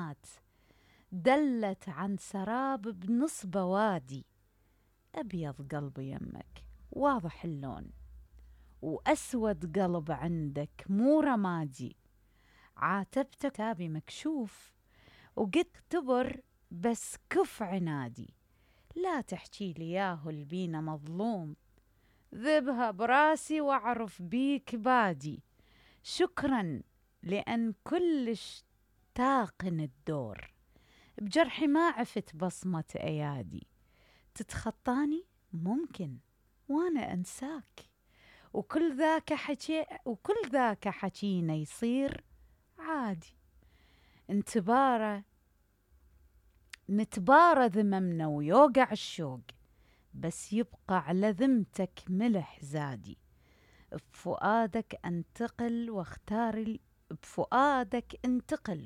كلمات دلت عن سراب بنص بوادي. أبيض قلب يمك واضح اللون، وأسود قلب عندك مو رمادي. عاتبتك كتابي مكشوف وقلت اعتبر بس كف عنادي. لا تحكي لي ياهو البينا مظلوم، ذبها براسي واعرف بيك بادي. شكرا لأن كلش تاقن الدور، بجرحي ما عفت بصمة أيادي. تتخطاني ممكن وانا انساك، وكل ذاك حكينا يصير عادي. نتبارى ذممنا ويوقع الشوق، بس يبقى على ذمتك ملح زادي. بفؤادك انتقل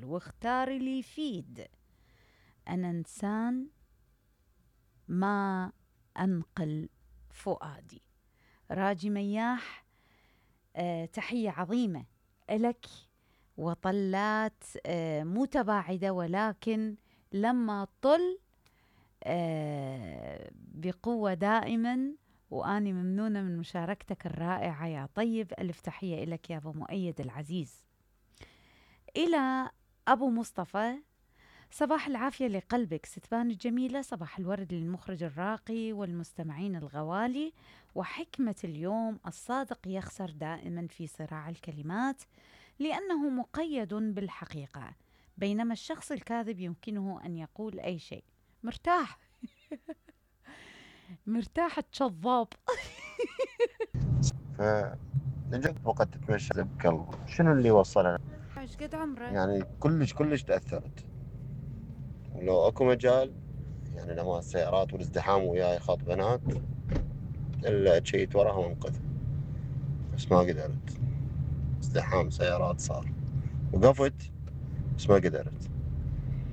واختار اللي يفيد. أنا إنسان ما أنقل فؤادي. راجي مياح، تحية عظيمة إلك، وطلات متباعدة ولكن لما طل بقوة دائما. وأني ممنونة من مشاركتك الرائعة يا طيب. ألف تحية إلك يا أبو مؤيد العزيز. إلى أبو مصطفى، صباح العافية لقلبك ستبان الجميلة، صباح الورد للمخرج الراقي والمستمعين الغوالي. وحكمة اليوم: الصادق يخسر دائما في صراع الكلمات لأنه مقيد بالحقيقة، بينما الشخص الكاذب يمكنه أن يقول أي شيء. مرتاح مرتاح كذاب. فنجد وقت تتمشى بقلب شنو اللي وصلنا؟ ايش قد عمره؟ يعني كلش تأثرت، ولو اكو مجال يعني لما السيارات والازدحام وياي خط بنات الا تشيت وراها وانقذ، بس ما قدرت. ازدحام سيارات صار، وقفت بس ما قدرت.